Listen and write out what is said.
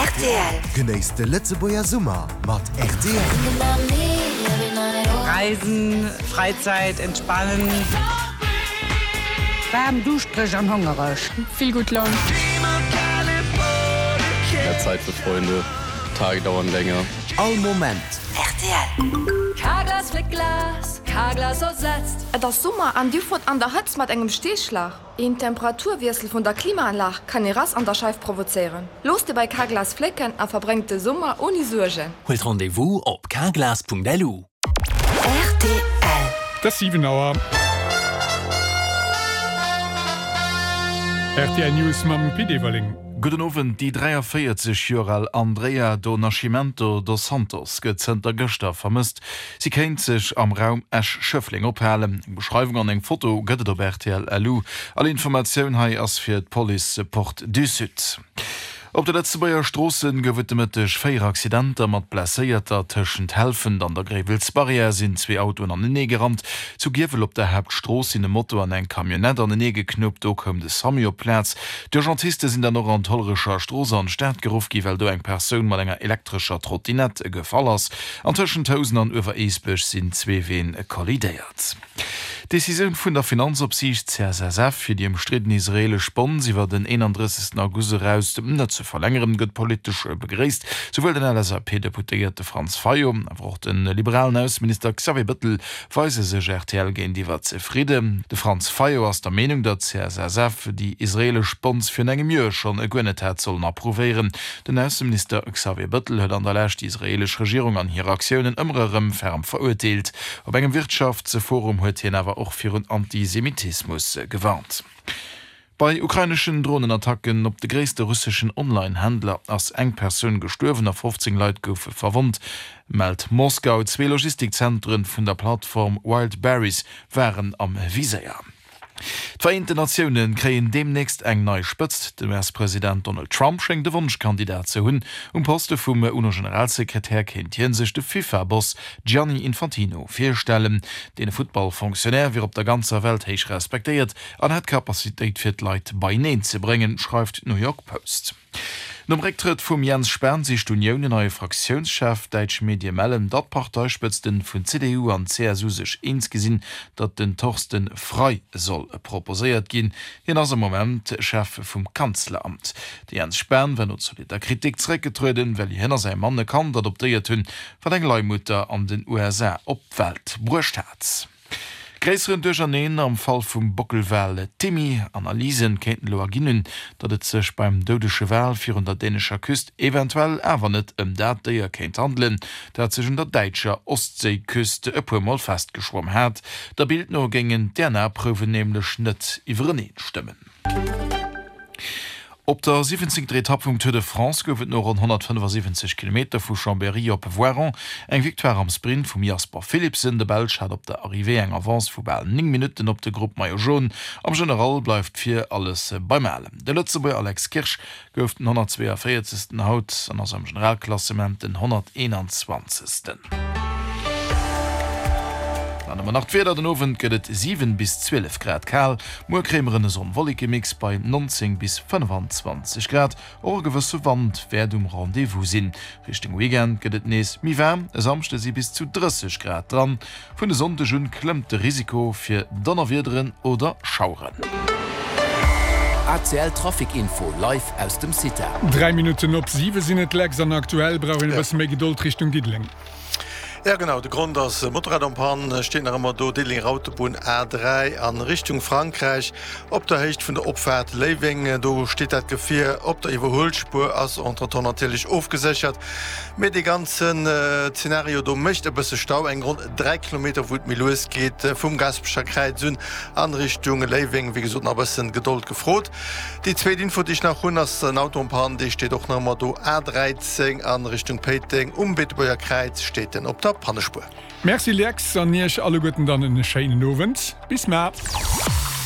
Rtl. Genéisst de Lëtzebuerger Summer mat rtl. Reisen, Freizeit, entspannen. Waarm, duuschtereg an hongereg. Vill gutt Laun. Mehr Zeit für Freunde, Tage dauern länger. All Moment. Rtl. Carglass fléckt Glas, Carglass ersetzt. Et ass Summer an dir fuert an der Hëtzt mat engem Steeschlag? Een Temperaturwiessel vun der Klimaanlag kann ee Rass an der Scheif provozéieren. Looss dir bei Carglass flécken a verbréngt de Summer ouni Suergen. Huelt Rendez-vous op carglass.lu. Rtl. Et ass 7 Auer. Rtl News mam Pit Everling. Gudden Owend, Déi 43 Joer al Andreia do Nascimento dos Santos gëtt zënter gëschter vermësst. Si kéint sech am Raum Esch-Schëffleng ophalen. Eng Beschreiwung an eng Foto gëtt et op rtl LU. All Informatioun hei ass fir d'Police Porte du Sud. Op de Lëtzebuerger Stroosse gouf et de Mëtteg 4 Accidenter mat Blesséierter. Tëschent Helfent an der Gréiwelsbarrière sinn zwee Autoen anenee gerannt. Zu Giewel op der Haaptstrooss sinn e Moto an eng Camionnette anenee geknuppt. Do koum de Samu op d'Plaz. D'Urgentiste sinn dann och an d'Hollerecher Strooss an d'Stad geruff gi well do eng Persoun mat enger elektrescher Trottinette gefall ass. An tëschent Housen an Uewereesbech sinn zwee Ween kollidéiert. D'Decisioun vun der Finanzopsiicht CSSF, fir déi ëmstridden israeelesch Bonds iwwer den 31. August eraus net ze verlängeren, gëtt politesch begréisst. Souwuel den LSAP-Deputéierte Franz Fayot, awer och de liberalen Ausseminister Xavier Bëttel weise sech rtl géintiwwer zefridden. De Franz Fayot ass der Meenung, datt d'CSSF déi israeelesch Bonds virun engem Joer schonn guer net hätt sollen approuvéieren. Den Ausseminister Xavier Bëttel huet an der Lescht déi israeelesch Regierung an hir Aktiounen ëmmer erëm ferm verurteelt. Op engem Wirtschaftsforum huet hien awer och virun Antisemitismus gewarnt. Bei ukraineschen Dronenattacken op de gréisste russeschen Online-Händler ass eng Persoun gestuerwen a 15 Leit goufe verwonnt, mellt Moskau. Zwee Logistikzentren vun der Plattform Wildberries waren am Viséier. D'Vereenten Natioune kréien deemnächst eng nei Spëtzt. Den US-President Donald Trump schéngt e Wonschkandidat ze hunn. Um Poste vum UNO-Generalsekretär kéint hie sech de FIFA-Boss Gianni Infantino virstellen. Dee Futtball-Fonctionnaire wier op der ganzer Welt héich respektéiert an hätt d'Capacitéit fir d'Leit beieneen ze bréngen, schreift d'New York Post. Nom Récktrëtt vum Jens Spahn sicht d'Unioun en neie Fraktiounschef. Däitsch Medie mellen, datt d'Parteispëtzten vun CDU an CSU sech eens gi sinn, datt den Thorsten Frei soll proposéiert ginn. Hien ass am Moment Chef vum Kanzleramt. De Jens Spahn war no zolitter Kritik zeréckgetrueden, well hien a säi Mann e Kand adoptéiert hunn, wat eng Leihmutter an den USA op d'Welt bruecht hat. Gréisseren Duercherneen am Fall vum Bockelwal Timmy. Analysen kéinten elo erginn hunn, datt et sech beim doudege Wal virun der dänescher Küst eventuell awer net ëm dat Déier kéint handelen, dat sech un der däitscher Ostséiküst e puer Mol festgeschwomm hat. Der Bild no géingen d'DNA-Prouwen nämlech net iwwereneen stëmmen. Op der siwwenzéngter Etapp vum Tour de France gouf et no ronn 175 Kilometer vu Chambéry op Voiron eng Victoire am Sprint vum Jasper Philipsen. De Belsch hat op der Arrivée eng Avance vu bal 9 Minutten op de Grupp Maillot Jaune. Am General bleift vir alles beim Alen. De Lëtzebuerger Alex Kirsch gouf den 142. Haut an ass am Generalklassement den 121. Dann hu mer nach d'Wieder, Den Owend gëtt et 7 bis 12 Grad kal. Muer kréie mer en Sonn-Wolleke-Mix bei 19 bis 25 Grad. Och e gewësse Wand wäert um Rendez-vous sinn. Richtung Weekend gëtt et nees méi waarm, e Samschde si bis zu 30 Grad dran. Vun e Sonndeg un klëmmt de Risiko fir Donnerwiederen oder Schaueren. ACL Trafic Info live aus dem CITA. 3 Minutten op 7 sinn et, Lex, an aktuell brauch een e bësse méi Gedold Richtung Diddeleng. Ja genau, de Grond ass e Motorrad en panne, steet nach ëmmer do, Diddelenger Autobunn A3 a Richtung Frankräich op der Héicht vun der Opfaart Léiweng. Do steet dat Gefier op der Iwwerhuelspuer, ass entretemps natierlech ofgeséchert. Mee dee ganzen Zenario do mécht e bësse Stau, eng ronn 3 Kilometer wou et méi lues geet vum Gaasperecher Kräiz un an Richtung Léiweng. Wéi gesot nach e bëssen Gedold gefrot. Déi zweet Info déi ech nach hunn ass en Auto en panne, dee steet och nach ëmmer do, A13 an Richtung Péiteng um Beetebuerger Kräiz steet en op der Pannespuer. Merci Lex an Iech alleguerten dann en schéinen Owend. Bis mar.